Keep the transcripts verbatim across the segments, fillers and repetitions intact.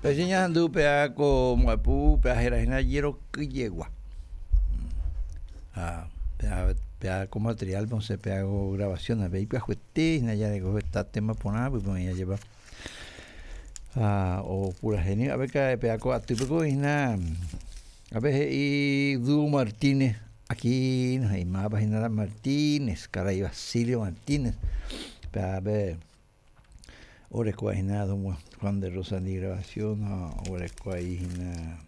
Peseña andu pea ko muapu pea jera hína jeroky jegua. Ha pea pea ko material osẽ pea ko grabación avei ipyahuete hína jareko heta tema porã pype oĩ ajépa ha opurahéi avei pea ko atýpe ko hína ápe he'i Dúo Martínez Aquino he'i mávapa hína la Martínez karai Basilio Martínez péape orekóva hína don Juan de Rosa-ndi grabación ha oguereko aí hína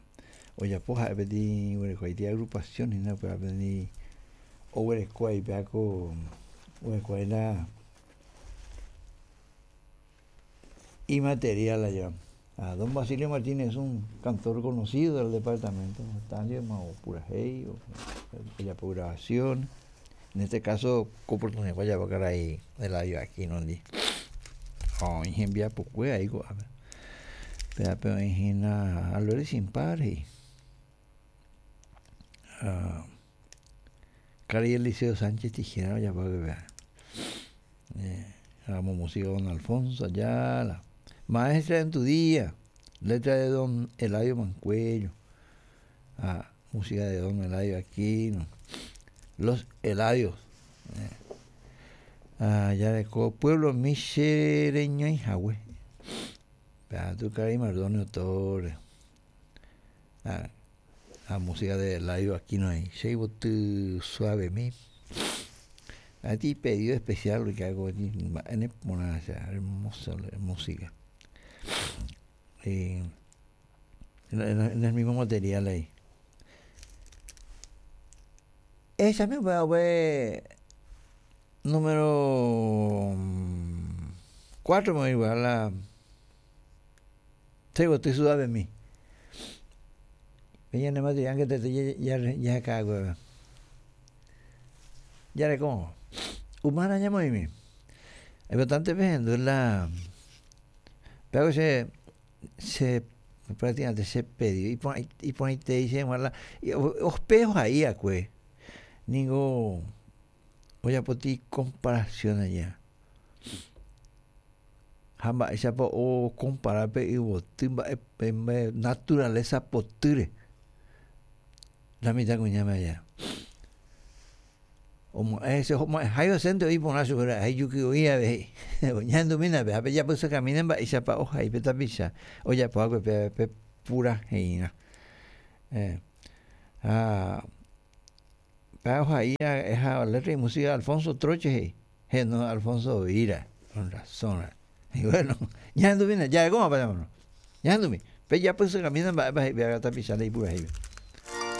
ojapo ha'e peteĩ oguerekoaite agrupación hína upévape ni oguereko aí péa ko oguereko aí la imaterial ajépa ha don Basilio Martínez es un cantor conocido del departamento heta ndivema opurahéi ojapo grabación en este caso ko oportunidad ojapo karai Eladio Aquino-ndi ha oĩ hembiapokue aí ko'ápe péape oĩ hína Albert sin par he'i ha karai Eliseo Sánchez Tijera ojapo péa hag̃ua música don Alfonso Ayala Maestra en tu día letra de don Eladio Mancuello ha música de don Eladio Aquino Los Eladios ha jareko Pueblo Michereñoihague péa tu karai Mardonio Torres ha ha música de Eladio Aquino ahí che yvoty suavemi ha pedido especial porque algo mba'e neporã hermosa la música en, en el mismo material ahí esa misma fue número cuatro me igual la Che yvoty suavemi pe ñane material que te ya ya acá jareko umana ñamoĩmi importante pehendu la péako che che prácticamente che pedido iporã iporãitei che g̃uarã la ospejo ha'íakue ningo ojapóti comparación aja ha mba'éichapa ocompara pe yvoty mba'e naturaleza potýre la mitãkuñáme aja oma'ẽ oma'ẽháiva chénte oĩ porã chupe jukyvoi avei ñahendumína pe ha pejapysakamína mba'éichapa ohai pe tapicha ojapoakue pe pe puraheirã eh, ha pe ohai ha letra y música Alfonso Troche he'i no Alfonso Vira con razón y bueno ñahendumína jarekómapa ñahendumi pejapysakamína mba'épa he'i pe tapicha ndaipurahéipe.